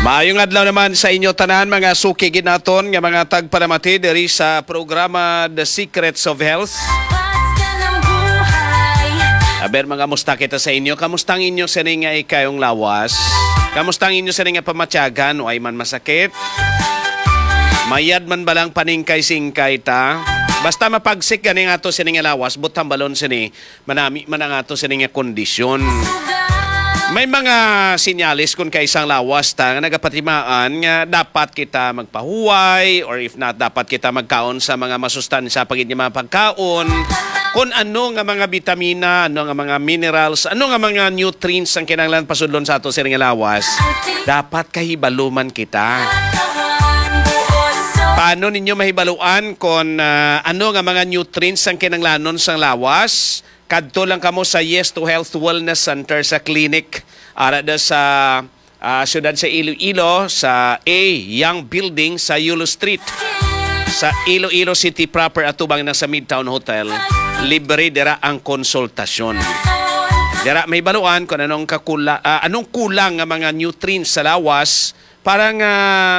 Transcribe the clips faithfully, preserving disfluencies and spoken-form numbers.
Maayong adlaw naman sa inyo tanan, mga suki gid naton nga mga tagpalamati diri sa programa The Secrets of Health. What's ka ng buhay? Aber, mga musta kita sa inyo? Kamusta ang inyo sini nga ikayong lawas? Kamusta ang inyo sini nga pamatyagan? Way man masakit? Mayad man balang paningkay-singkay ta? Basta mapagsik gani nga ato sini nga lawas, butang balon sini, manami man ang ato sini nga kondisyon. May mga senyales kung kaisa ang lawas ta nga nagapatimaan nga dapat kita magpahuway, or if not, dapat kita magkaon sa mga masustansya pa gid nga mga pagkaon. Kung ano nga mga bitamina, ano nga mga minerals, ano nga mga nutrients ang kinahanglan pasudlon sa ato sini nga lawas, dapat kahibalo man kita. Paano ninyo mahibaluan kung, ah, ano nga mga nutrients ang kinahanglanon sang lawas? Kadto lang kamo sa Yes to Health Wellness Center sa clinic ara da sa, ah, siyudad sa Iloilo, sa A Young Building sa Yulo Street, sa Iloilo City proper, atubang na sa Midtown Hotel. Libre dira ang konsultasyon. Dira may baluan kung anong kakula-, ah, anong kulang nga mga nutrients sa lawas para nga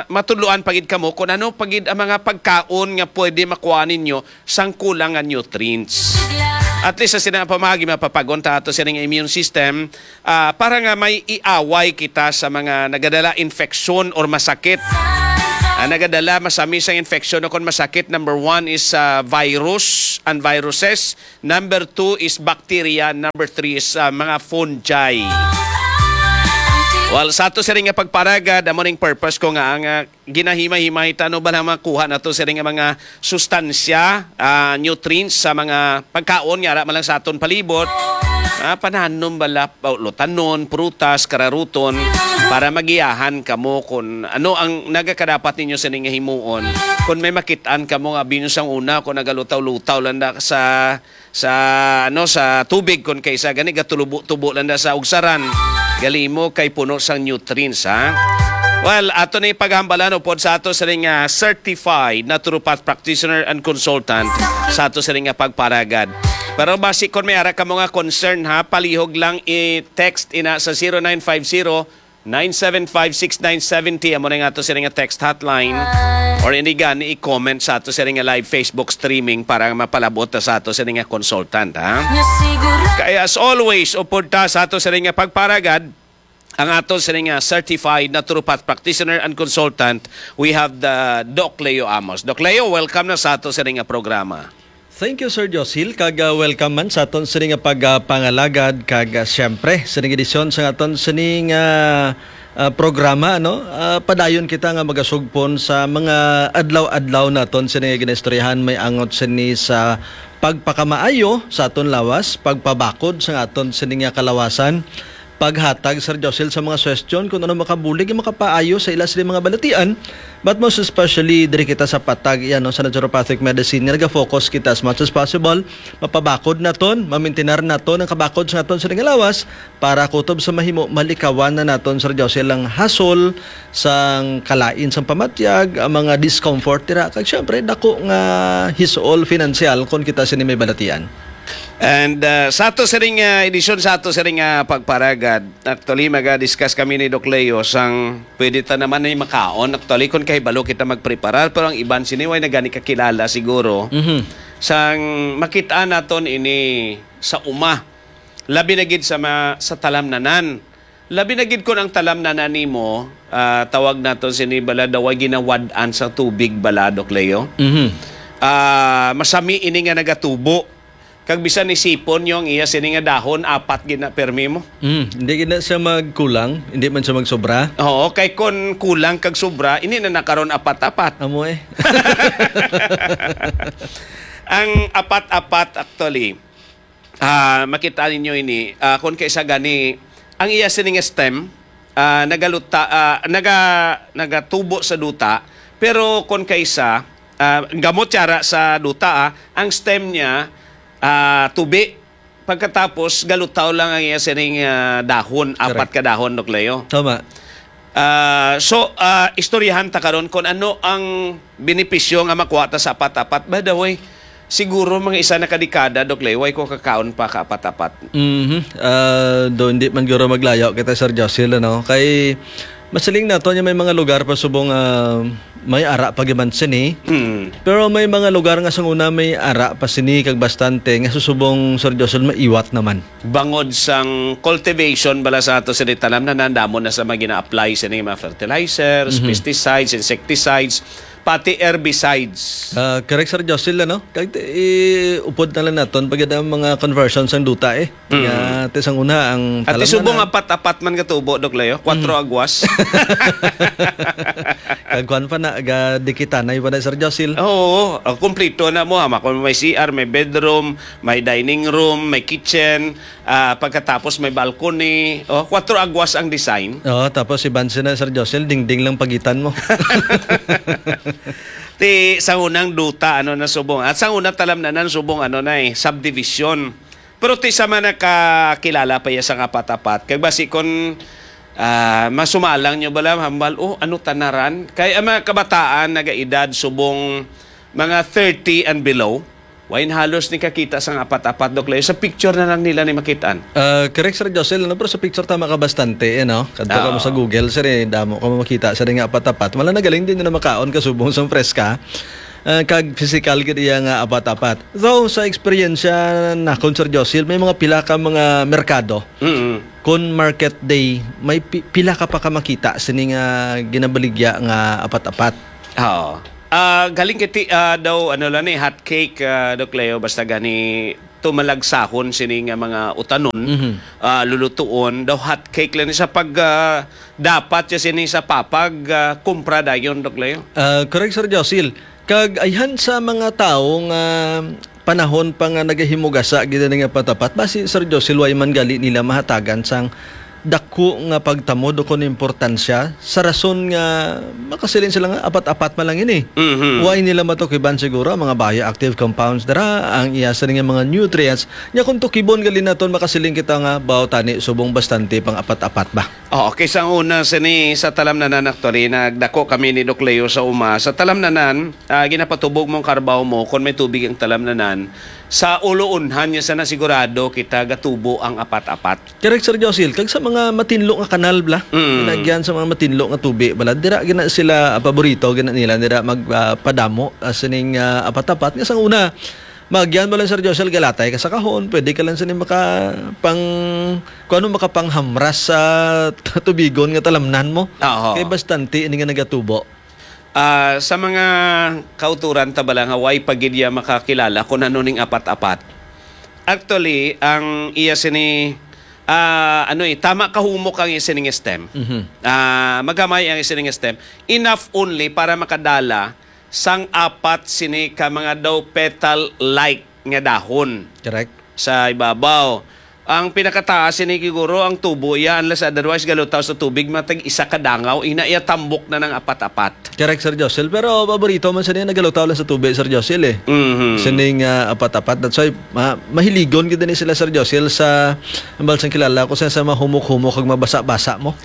matudloan pa gid kamo kung ano pa gid ang mga pagkaon nga pwede makuha ninyo sang kulang nga nutrients. At least sa sina pamagi mapapag-on ta ato sining immune system, ah, para nga may iaway kita sa mga nagadala infeksyon or masakit. Ang nagadala masami sang infeksyon o kon masakit, number one is, ah, virus and viruses. Number two is bacteria. Number three is, ah, mga fungi. Well, sa ato siring nga pagparagad, amo ning purpose ko nga ang, ah, ginahimay-himay ta, ano ba lang makuha nato siring nga mga sustansya, ah, nutrients sa mga pagkaon nga ara man lang sa aton palibot. Ah, pananom bala, lutanon, prutas, kararuton, para magiyahan kamo kung ano ang nagakadapat ninyo sining nga himuon. Kung may makit-an kamo nga binyo sang una, kung nagalutaw-lutaw lang na sa sa, ano, sa tubig, kon kaysa gani gatubo-tubo lang na sa ugsaran. Galimo kay puno sang nutrients, ha? Well, ato ni paghambalan upod sa ato sining, ah, certified naturopath practitioner and consultant sa ato sining nga pagparagad. Pero basi kon may ara kamo nga concern, ha, palihog lang i-text ina sa zero nine five zero, nine seven five, six nine seven zero, amo na nga ato sini nga text hotline. Or hindi gani, i-comment sa ato sini nga live Facebook streaming para mapalabot na sa ato sini nga consultant, ha? Kaya as always, upod ta sa ato sini nga pagparagad, ang ato sini nga certified naturopath practitioner and consultant, we have the Doc Leo Amos. Doc Leo, welcome na sa ato sini nga programa. Thank you, Sir Josil, kag, ah, welcome man sa aton sini nga pagpangalagad, kag, ah, siyempre, sining edisyon sa aton sining, ah, ah, programa, ano? Ah, padayon kita nga magasugpon sa mga adlaw-adlaw naton sini nga ginaistoryahan, may angot sini sa pagpakamaayo sa aton lawas, pagpabakod sa aton sini nga kalawasan, paghatag, Sir Josil, sa mga suwestyon kung ano makabulig ug makapaayo sa ila sini mga balatian, but most especially diri kita sa patag, iya, no, sa naturopathic medicine nga naga-focus kita as much as possible mapabakod naton, mamintinar naton ang kabakod sa aton sini nga lawas para kutob sa mahimo malikawan na naton, Sir Josil, ang hasol sang kalain sang pamatyag, ang mga discomfort dira, kag siyempre dako nga hisol financial kon kita sini may balatian. And, uh, sa ato sining, uh, edisyon sa ato sining, uh, pagparagad, actually, maga-discuss kami ni Doc Leo sang pwede ta naman ni makaon. Actually, kung kahibalo kita magpreparar, pero ang iban sini way na gani kakilala siguro. Mhm. Sang makita naton ini sa uma, labi na gid sa ma-, sa talamnanan. Labi na gid kung ang talamnanan nimo, ah, tawag naton sini bala daw ay ginawad-an sa tubig bala, Doc Leo. Mhm. Ah, masami ini nga nagatubo. Kag bisan isipon nyo ang iya sini nga dahon, apat gid na permi mo. Mm, hindi gid na siya magkulang, hindi man siya magsobra. Oo, kay kon kulang kag sobra, ini na nakaron apat-apat. Amo eh. Ang apat-apat, actually, ah, makita ninyo ini, ah, kon kaisa gani, ang iya sining stem, ah, nagaluta, ah, naga-, nagatubo sa duta, pero kon kaisa, ah, gamot siya ra sa duta, ah, ang stem niya, ah, tubi. Pagkatapos, galutaw lang ang iya sining, ah, dahon, apat Correct. ka dahon, Doc Leo. Tama. Ah, so, ah, istoryahan ta karon kung ano ang benepisyo nga makuha ta sa apat-apat. By the way, siguro mga isa na ka dekada, Doc Leo, way ko kakaon pa ka apat-apat. Mhm. Ah, do, hindi man guro maglayo kita, Sir Josil, ano? Kay, Masiling nato nga may mga lugar pa subong, ah, may ara pa giban sini. Mm. Pero may mga lugar nga sang una may ara pa sini kag bastante nga susubong, Sir Josel, maiwat naman. Bangod sang cultivation bala sa ato sini talamnanan, damo na sa mga gina-apply sini mga fertilizers, Mhm. pesticides, insecticides, pati herbicides. Ah, correct, Sir Josel, ano? Kag ti-, i-, upod na lang naton pagid ang mga conversion sang duta, eh. Mm. Nga, ti sang una, ang At talamnanan. Subong apat-apat man ka tubo, Doc Leo? Kwatro Mm. agwas? Kag kwan pa na, ga dikitanay pa na, Sir Josil. Oo, ah, kumplito na mo, ha? Kung may C R, may bedroom, may dining room, may kitchen, ah, pagkatapos may balcony. Oh, kwatro agwas ang design. Oo, tapos si Bansi na, Sir Josil, dingding lang pagitan mo. Ti, sa unang duta, ano na subong. At sa unang talamnanan, subong, ano na eh, subdivision. Pero ti sa man nakakilala pa iya sang apat-apat. Kag basi kon, ah, masumalang nyo bala, hambal, "Oh, ano tanaran?" Kay ang mga kabataan nagaedad subong mga thirty and below, wain halos ni kakita sang apat-apat, Doc Leo. Sa picture na lang nila ni makitaan. Ah, correct, Sir Josel, ano? Pero sa picture tama ka bastante, eh, no? Kadto ka mo sa Oo. Google, sir, eh, damo ka mo makita, sir, nga apat-apat. Wala na galing din na makaon ka subong sang preska. Ah, kag physical gid iya nga apat-apat. Though, sa eksperyensya nakon, Sir Josil, may mga pila ka mga merkado. Mm. Kon market day, may pi-, pila ka pa ka makita sini nga ginabaligya nga apat-apat. Oo. Ah, galing kiti, ah, daw, ano lang ni, hot cake, ah, Doc Leo, basta gani tumalagsahon sini nga mga utanon, Mhm. ah, lulutuon, daw hot cake lang ni sa pag, ah, dapat siya sini sa papag, ah, kumpra dayon, Doc Leo. Ah, correct, Sir Josil. Kag ayhan sa mga tawo nga panahon pa nga nagahimugasa gid ani nga patapat, basi, Sir Josil, way man gali nila mahatagan sang dako nga pagtamod o kon importansya sa rason nga makasiling sila nga apat-apat man lang ini. Mhm. Way nila matukiban siguro ang mga bioactive compounds dira, ang iya sini nga mga nutrients. Nya kung tukibon gali naton, makasiling kita nga baw tani subong bastante pang apat-apat ba? Oh, okay, sa una sini sa talamnanan, actually, nagdako kami ni Doc Leo sa uma. Sa talamnanan, ah, ginapatubog mo ang karbaw mo kon may tubig ang talamnanan. Sa uloonhan niya sana sigurado kita gatubo ang apat-apat. Correct, Sir Josil. Kag sa mga matinlo nga kanal, bla? Mm. Nagyan sa mga matinlo nga tubi, bala, dira gina sila, ah, paborito gina nila, dira mag, ah, padamo, ah, sining, ah, apat-apat. Nga sang una, magyan mo lang, Sir Josil, galatay ka sa kahon, pwede ka lang sini maka, pang, kung ano, makapanghamras sa tubigon nga talamnan mo. Oo. Kay bastante ini nga nagatubo. Ah, sa mga kauturan ta bala nga way pa gid iya makakilala kung ano ning apat-apat. Actually, ang iya sini, ah, ano eh, tama kahumok ang iya sining stem. Mhm. Ah, magamay ang iya sining stem. Enough only para makadala sang apat sini ka mga daw petal-like nga dahon. Correct. Sa ibabaw. Ang pinakataas sini, siguro, ang tubo iya, unless otherwise galutaw sa tubig, matag isa ka dangaw, ina iya tambok na nang apat-apat. Correct, Sir Josel. Pero paborito man sa niya, nagalutaw lang sa tubig, Sir Josel, eh. Mhm. Sining, ah, apat-apat. That's why, ma-, mahiligon gid ni sila, Sir Josel, sa, ang balsang kilala ko, sa, sa mahumok-humok kag mabasa-basa mo.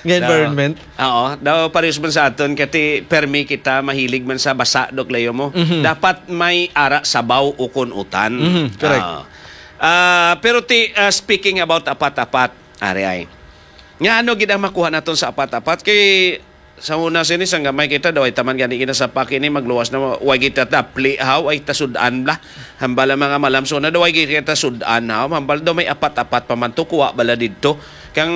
Nga So, environment. Oo. Daw, parehas man sa aton, kati permi kita, mahilig man sa basa, Doc Leo mo. Mhm. Dapat may ara sabaw o kun utan. Mhm, correct. Oo. Ah, pero ti, ah, speaking about apat-apat, ari ay. Nga ano gid ang makuha naton sa apat-apat? Kay sa una sini, sang gamay kita, daw ay taman gani kita sa pakini, magluwas na, wa kita tapli, haw, ay tasud-an bla. Hambal ang mga malam, so na daw ay kita sud-an, haw. Hambal daw may apat-apat pa man to, kuha bala didto. Kang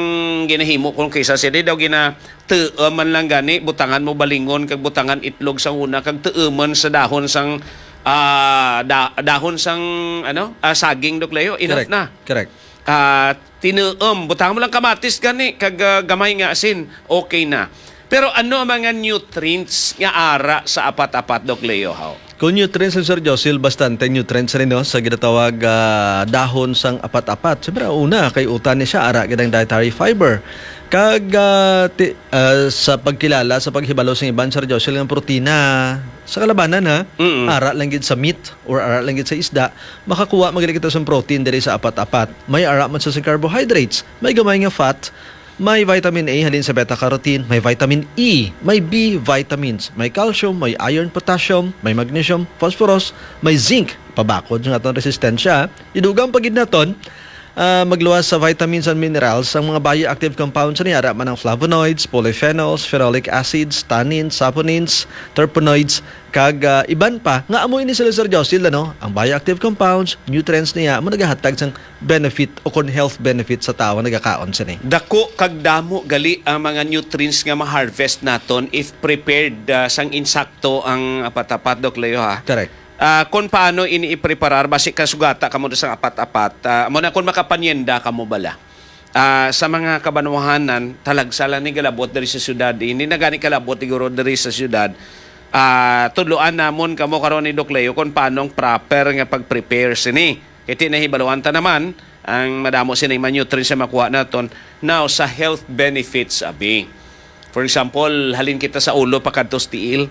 ginahimo kong kisa sini, daw gina-, tuom man lang gani, butangan mo balingon, kag butangan itlog sa una, kag tuomon sa dahon sang, ah, da-, dahon sang, ano, ah, saging, Doc Leo, enough Correct. na. Correct. Ah, tinuom, butangan mo lang kamatis gani, kag, ah, gamay nga asin, okay na. Pero ano ang mga nutrients nga ara sa apat-apat, Doc Leo, haw? Kung nutrients, Sir Josil, bastante nutrients rin, no, sa ginatawag, ah, dahon sang apat-apat. Siyempre, una, kay utan ni siya, ara gid ang dietary fiber. Kag, ah, ti-, ah, sa pagkilala, sa paghibalo sa iban, Sir Josil, ang protina sa kalabanan, ha? Mm-mm. Ara lang gid sa meat or ara lang gid sa isda, makakuha man gid kita sa protein diri sa apat-apat. May ara man sa, sa carbohydrates, may gamay nga fat, may vitamin A halin sa beta carotene, may vitamin E, may B vitamins, may calcium, may iron, potassium, may magnesium, phosphorus, may zinc, pabakod nga aton resistensya. Idugang pa gid naton, Ah, magluwas sa vitamins and minerals ang mga bioactive compounds niya, ara man ang flavonoids, polyphenols, phenolic acids, tannins, saponins, terpenoids, kag, ah, iban pa nga amo ini sila, Sir Josil, ano? Ang bioactive compounds, nutrients niya, amo nagahatag sang benefit o kon health benefit sa tawo nga nagakaon sini. Dako kag damo gali ang mga nutrients nga ma-harvest naton if prepared, ah, sang insakto ang apat-apat, Doc Leo, ha? Correct. Ah, kung paano ini ipreparar, basi kasugata kamo sa apat-apat. Ah, amo na, kung makapanyenda kamo bala, ah, sa mga kabanwahanan, talagsa lang ni galabot diri sa syudad. Hindi na gani kalabot siguro diri sa syudad. Ah, tudloan namon kamo karon ni Doc Leo kung paano ang proper nga pag-prepare sini. Kay ti nahibaluan ta naman ang madamo sini mga nutrients nga makuha naton. Now, sa health benefits, abi. For example, halin kita sa ulo pakadto sa tiil.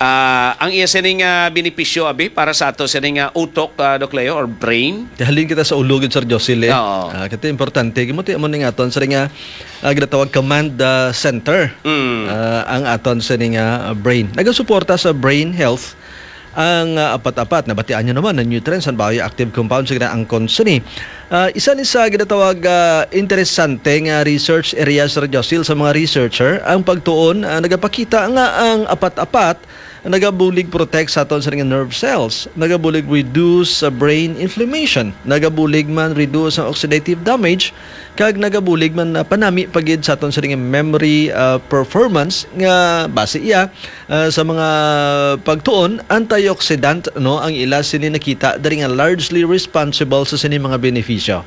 Ah, ang iya sini nga benepisyo, abi, para sa ato sini nga utok, ah, Doc Leo, or brain? Halin kita sa ulo gid, Sir Josil, eh. Oo. Ah, kay ti importante, kamo ti amo ning aton sini nga, ah, ginatawag command, ah, center. Mm. Ah, ang aton sini nga, ah, brain. Nagasuporta sa brain health ang, ah, apat-apat. Nabatian nyo naman ang nutrients and bioactive compounds nga angkon sini. Ah, isa ni sa ginatawag, ah, interesante nga research area, Sir Josil, sa mga researcher, ang pagtuon, ah, nagapakita nga ang apat-apat nagabulig protect sa aton sa nga nerve cells, nagabulig reduce sa brain inflammation, nagabulig man reduce ang oxidative damage, kag nagabulig man na panami pa gid sa aton sa nga memory, ah, performance nga base iya, ah, sa mga pagtuon, antioxidant, no, ang ila sini nakita diri nga largely responsible sa sini mga benepisyo.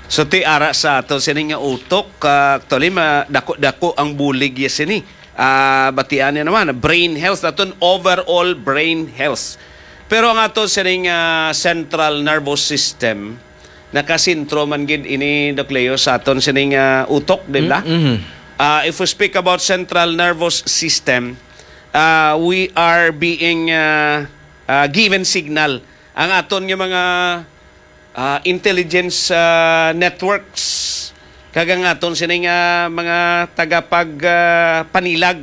So, ti ara sa ato sini nga utok, ah, actually, ma-, dako-dako ang bulig ya sini. Ah, batian niya naman, brain health, aton overall brain health. Pero ang ato sini nga central nervous system, nakasentro man gid ini, Doc Leo, sa aton sini nga utok, di ba? Mm, mhm. Ah, if we speak about central nervous system, ah, we are being, ah, ah, given signal. Ang aton nga mga, ah, intelligence, ah, networks, kag ang aton sini nga mga tagapag, ah, panilag,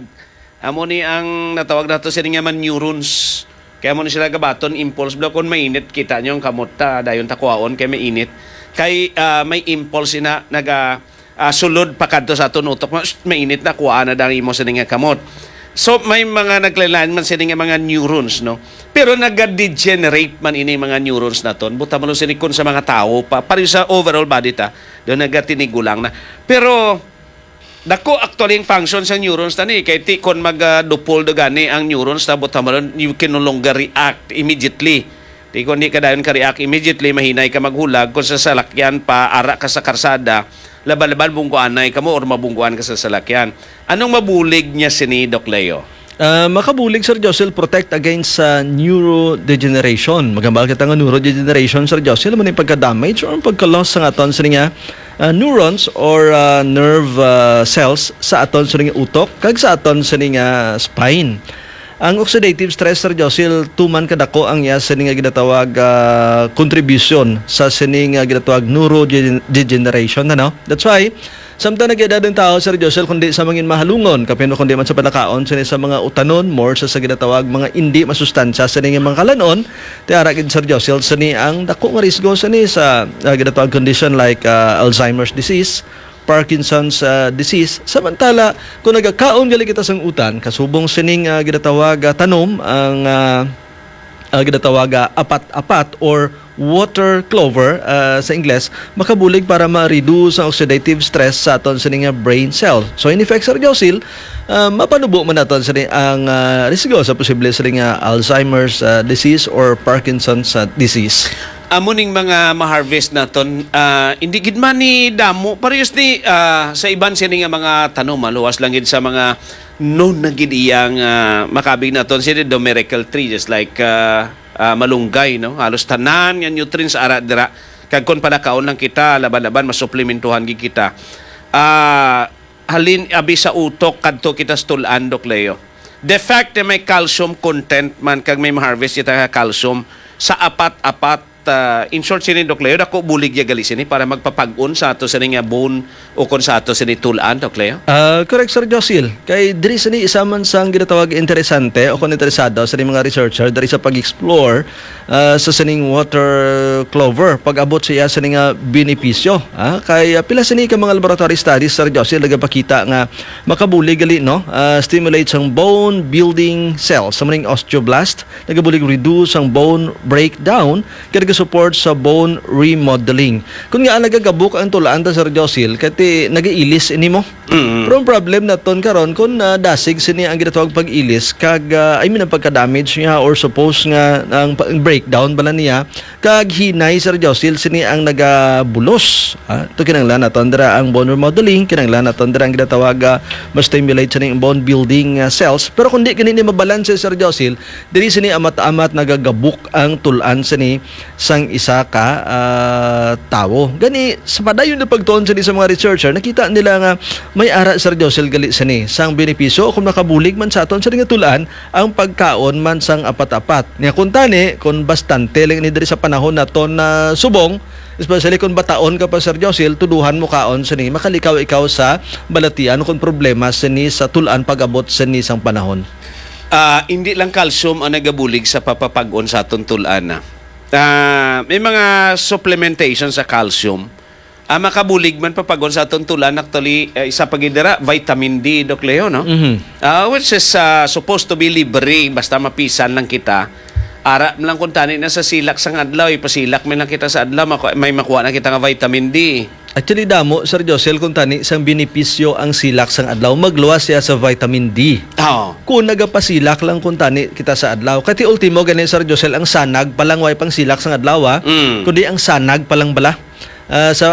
amo ni ang natawag nato sini nga mga neurons. Kaya mo ni sila gabaton impulse block. Kung mainit, kita nyo ang kamot ta, dayon ta kuhaon kay mainit. Kay, ah, may impulse ina naga, ah, sulod pa kadto sa aton utok, ma-, mainit na, kuha na dang imo sini nga kamot. So, may mga naglain-lain man sini nga mga neurons, no? Pero naga-degenerate man ini mga neurons naton. Buta mo sini kun sa mga tawo pa, pareho sa overall body ta, do nagatinigulang na. Pero dako actually ang function sa neurons ta ni, kay ti kon mag, ah, dupol do gani ang neurons ta, buta mo, you can no longer react immediately. Di kon di ka dayon ka react immediately, mahinay ka maghulag. Kung sa salakyan pa, ara ka sa karsada, laban-laban bungguanay ka mo or mabungguan ka sa salakyan. Anong mabulig niya sini, Doc Leo? Ah, makabulig, Sir Josel, protect against sa neurodegeneration. Magambal kita nga neurodegeneration, Sir Josel, man yung pagka-damage or ang pagka-loss sa aton sini nga, ah, neurons or, ah, nerve, ah, cells sa aton sini nga utok kag sa aton sini nga spine. Ang oxidative stress, Sir Josil, tuman kadako ang iya sini nga ginatawag, ah, contribution sa sini nga ginatawag neurodegeneration, ano? That's why, samtang nag-edad ang tao, Sir Josil, kundi sa mangin mahalungon, kapin kundi man sa panakaon sini sa mga utanon, more sa, sa ginatawag mga indi masustansya sini nga mga kalanon, tiara gid, Sir Josil, sini ang dako nga risgo sini sa, ah, ginatawag condition like, ah, Alzheimer's disease, Parkinson's, ah, disease. Samantala, kung nagakaon gali kita sang utan, kasubong sining, ah, ginatawag, ah, tanom, ang, ah, ah, ginatawag, ah, apat-apat or water clover, ah, sa Ingles, makabulig para ma-reduce ang oxidative stress sa aton sini nga brain cell. So, in effect, Sir Josil, ah, mapanubo man naton sini ang, ah, risgo sa posible sini nga Alzheimer's, ah, disease or Parkinson's, ah, disease. Amo ning mga ma-harvest naton, ah, hindi gid man ni damo. Parehas ni, ah, sa iban sini nga mga tanom, ah, luwas lang gid sa mga known na gid iyang, ah, makabig naton sini the miracle tree, just like, ah, ah, malunggay, no? Halos tanan nga nutrients ara dira. Kag kon palakaon lang kita, laban-laban, masuplementuhan gid kita. Ah, halin, abi sa utok, kadto kita sa tul-an, Doc Leo. The fact na may calcium content man kag may ma-harvest kita nga calcium sa apat-apat, ah, in short sini, Doc Leo, dako bulig ya gali sini para magpapag-on sa ato sini nga bone o kon sa ato sini tul-an, Doc Leo? Ah, correct, Sir Josil. Kay diri sini isa man sang ginatawag interesante o kon interesado sa mga researcher diri sa pag-explore, ah, sa sining water clover pag-abot siya sa nga benepisyo. Ah, kay, ah, pila sini ka mga laboratory studies, Sir Josil, nagapakita nga makabulig gali, no? Ah, stimulate sang bone building cells, sa maning osteoblast, nagabulig reduce ang bone breakdown, kag nagasupport sa bone remodeling. Kung nga nagagabok ang tulaan ta, Sir Josil, kati nagailis ini mo. Mm. Pero ang problem naton karon, kung, ah, dasig sini ang ginatawag pag-ilis, kag, ah, I mean, ang pagka-damage niya, or suppose nga ang pa-, ang breakdown bala niya, kag hinay, Sir Josil, sini ang nagabulos. Ah, ito kinahanglan naton dira ang bone remodeling, kinahanglan naton dira ang ginatawag, ah, ma-stimulate sini ang bone building, ah, cells. Pero kung di kini ni mabalanse, Sir Josil, diri sini amat-amat nagagabok ang tulaan sini sang isa ka, ah, tawo. Gani, sa padayon na pagtuon sini sa mga researcher, nakita nila nga may ara, Sir Josil, gali sini sang benepisyo kung makabulig man sa aton sini nga tulaan ang pagkaon man sang apat-apat. Nya kung tani, kung bastante lang ini diri sa panahon naton na subong, especially kung bataon ka pa, Sir Josil, tuduhan mo kaon sini, makalikaw ikaw sa balatian kung problema sini sa tulaan pag-abot sini sang panahon. Ah, hindi lang calcium ang nagabulig sa papapag-on sa aton tulaan na. Ah, may mga supplementation sa calcium. Ah, makabulig man papag-on sa aton tulaan, actually, ah, isa pa gid dira, vitamin D, Doc Leo, no? Mhm. Ah, which is, ah, supposed to be libre, basta mapisan lang kita. Ara lang kung tani na sa silak sang adlaw, ipasilak man lang kita sa adlaw, maku-, may makuha na kita nga vitamin D. Actually, damo, Sir Josel, kung tani sang benepisyo ang silak sang adlaw, magluwas siya sa vitamin D. Oo. Kung nagapasilak lang kung tani kita sa adlaw. Kati ultimo gani, Sir Josel, ang sanag pa lang way pang silak sang adlaw, ah. Mm. Kundi ang sanag pa lang bala. Ah, sa